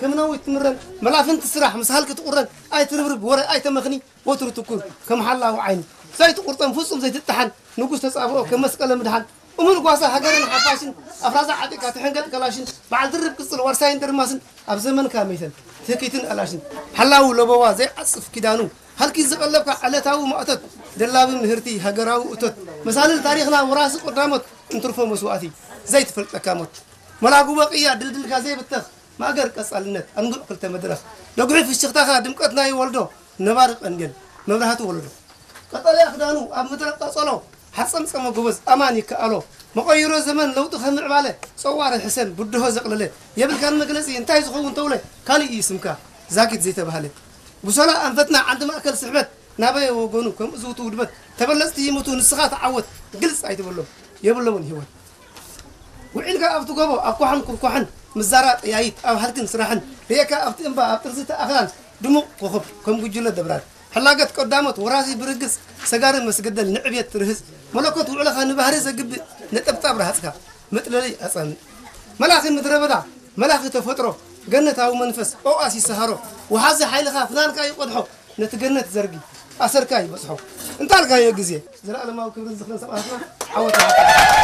ከም ነዊት ትምረን መላፍንቲ ስራሕ ምስ ሃልኪ ትቑረን ኣይትርብርብ ወረ ኣይተመኽኒ ወትሩ ትኩር ከም ሓላዊ ዓይኒ ዘይትቑርጠን ፍጹም ዘይትጥሓን ንጉስ ተጻብኦ ከም መስቀለ ምድሓን እሙን ጓሳ ሃገርን ሓፋሽን ኣፍራዛ ዓጢቃ ትሕንገጥ ከላሽን በዓል ድርብ ቅጽል ዋርሳይን ድርማስን ኣብ ዘመንካ መይተን ትህኪትን ኣላሽን ሓላዊ ለበዋ ዘይዓጽፍ ኪዳኑ ሃልኪ ዝቐለብካ ዕለታዊ ማእቶት ደላቢ ምህርቲ ሃገራዊ እቶት መሳልል ታሪኽና ወራሲ ቀዳሞት እንትርፎ መስዋእቲ ዘይትፈልጠካ ሞት መላጉ በቕያ ድልድልካ ዘይብተኽ ማእገር ቀጻልነት ኣንጉዕ ክልተ መድረኽ ደግሒ ፍሽኽታኻ ድምቀት ናይ ወልዶ ነባሪ ቀንዴል መብራህቲ ወለዶ ቀጠልያ ክዳኑ ኣብ ምድረ ቀጸሎ ሓጸምጸመ ጎበዝ ኣማን ይከኣሎ መቐይሮ ዘመን ለውጢ ከምዕባለ ጸዋሪ ሕሰን ብድሆ ዘቕለለ የብልካን መግለጺ እንታይ ዝኸውን ተውለ ካልእ እዩ ስምካ ዛጊት ዘይተባህለ ብሶላ ኣንፈትና ዓንዲ ማእከል ስሕበት ናበየ ወገኑ ከም እዝውቱ ውድበት ተበለጽቲ ይሙቱ ንስኻ ተዓወት ግልጽ ኣይትበሎም የብሎምን ህይወት ውዒልካ ኣብቲ ጎቦ ኣብ ኳሕን ኩርኳሕን ምዛራ ጠያይት ኣብ ሃልክን ስራሕን ርእየካ ኣብቲ እምባ ኣብ ጥርዚ ተኣኽላን ድሙቕ ኮኸብ ከም ጉጅለ ደብራን ሕላገት ቀዳሞት ወራሲ ብርግጽ ሰጋሪ መስገደል ንዕብየት ትርህጽ መለኮት ውዕለኻ ንባህሪ ዘግብእ ነጠብጣብ ረሃጽካ መጥለሊ ኣጻምእ መላኺ ምድረ በዳ መላኺ ተፈጥሮ ገነታዊ መንፈስ ኦኣሲስ ሰሃሮ ወሓዚ ሓይልኻ ፍናንካ ይቆድሖ ነቲ ገነት ዘርጊ ኣሰርካ ይበጽሖ እንታልካዮ ግዜ ዘለኣለማዊ ክብርን ዝኽርን ሰማእታትና ዓወት